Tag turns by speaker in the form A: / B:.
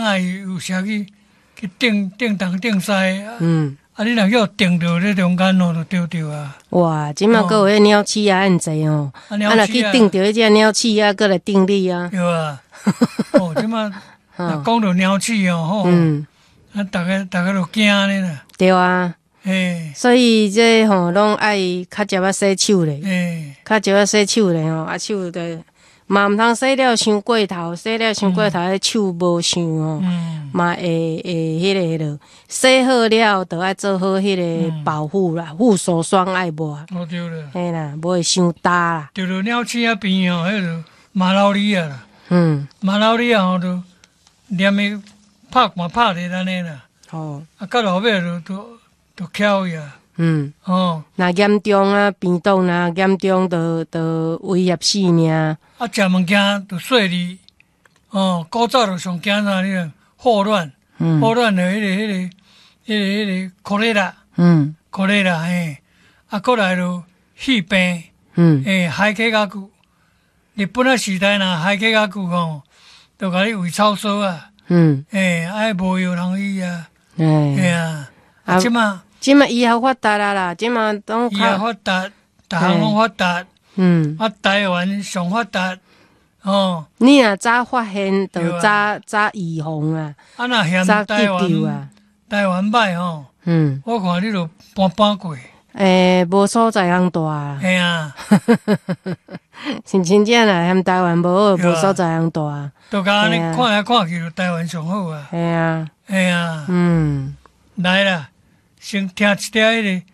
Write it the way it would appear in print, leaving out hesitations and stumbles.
A: 人啊有時去釘釘東釘西，啊，你若叫釘著咧中間哦，就著著啊。
B: 哇，這馬閣有彼鳥鼠仔按濟哦，
A: 啊，
B: 啊，若去釘著彼隻鳥鼠仔，閣來釘你啊。
A: 對啊。哦，這馬若講著鳥鼠哦，吼，啊，逐家逐家都驚咧啦。
B: 對啊。所以這吼攏愛較少仔洗手咧，較少仔洗手咧吼，啊手就嘛毋通洗了傷過頭，洗了傷過頭，彼手無想吼，嘛會會彼个落。洗好了，就愛做好彼个保護啦，護手霜愛抹。
A: 哦對啦。
B: 嘿啦，無會傷焦啦。
A: 著著鳥鼠仔病吼，彼个馬拉利亞啦。馬拉利亞吼，就連伊拍嘛拍咧按呢啦。啊，到後尾就就就翹去啊。
B: 若嚴重啊，病毒若嚴重，就就威脅性命。
A: 啊，食物件就細膩，哦，古早就上驚啥？你看霍亂，霍亂的彼個 cholera，cholera 嘿，啊，閣來就肺病，欸，海溪較久。日本仔時代若海溪較久吼，就共你餵草臊啊，欸，愛無藥通醫啊，嘿啊，啊，這馬。
B: 這馬醫學發達啦啦，這馬攏
A: 醫學發達，逐項攏發達。啊，台灣上發達，哦。
B: 你若早發現，就早早預防啊。
A: 啊，若嫌台灣台灣歹吼，我看你就搬搬過。
B: 欸，無所在通蹛啊。
A: 嘿啊。
B: 是真正啦，嫌台灣無好，無所在通蹛。
A: 就共按呢看來看去，就台灣上好啊。
B: 嘿啊。
A: 嘿啊。來啦。先聽一點彼個。